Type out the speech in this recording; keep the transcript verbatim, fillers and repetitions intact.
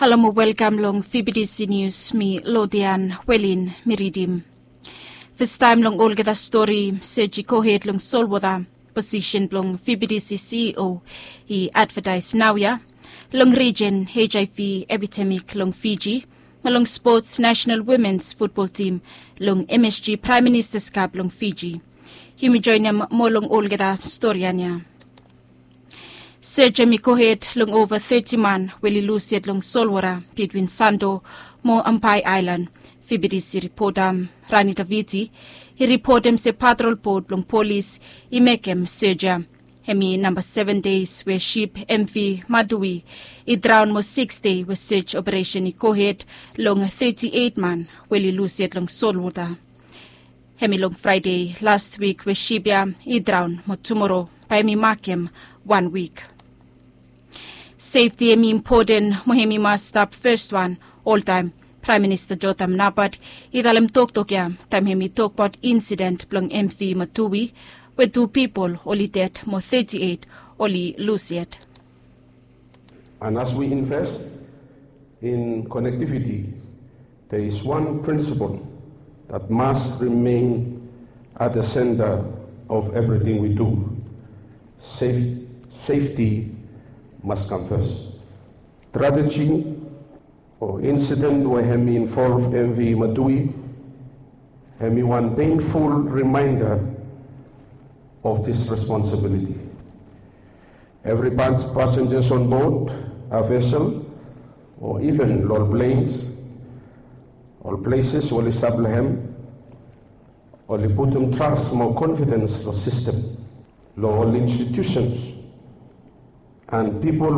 Halo mo welkam long V B T C News, mi Lodian Welin mi ridim. Fastaem long olgeta stori, sej i gohed long solwota, posisen blong V B T C C E O i advetaes naoia. Long rijen HIV epidemik long Fiji, mo long spots nasenal womens futbol tim long M S G Praem Ministas Kap long Fiji. Yumi joenem moa long olgeta stori ia. Sej hemi gohed long ova teti man we oli lus yet long solwota bitwin Santo mo Ampai Aelan. V B T C ripota Rani Taviti i ripotem se patrol bot blong polis i mekem sej ia. Hemi namba seven deis we sip MV Madui i draon mo siks dei we sej operesen i gohed long teti eit man we oli lus yet long solwota. Hemi long Fraede las wik we sip ia i draon mo tumoro bae hemi makem wan wik. Sefti hemi impoten mo hemi mas stap fes wan oltaem. Praem Minista Jotham Napat i talem toktok ia taem hemi tokbaot insiden blong MV Madui we tu pipol oli ded mo teti eit oli lus yet. And as we invest in connectivity, there is one principle that must remain at the center of everything we do. Safe, safety must come first. Tragedy o insiden we hemi involv MV Madui hemi wan painful reminder of this responsibility. Evri pas-, passengers on board a vessel o even long ol planes, ol places we oli stap long hem, oli putum tras mo confidence long system, long ol institutions and pipol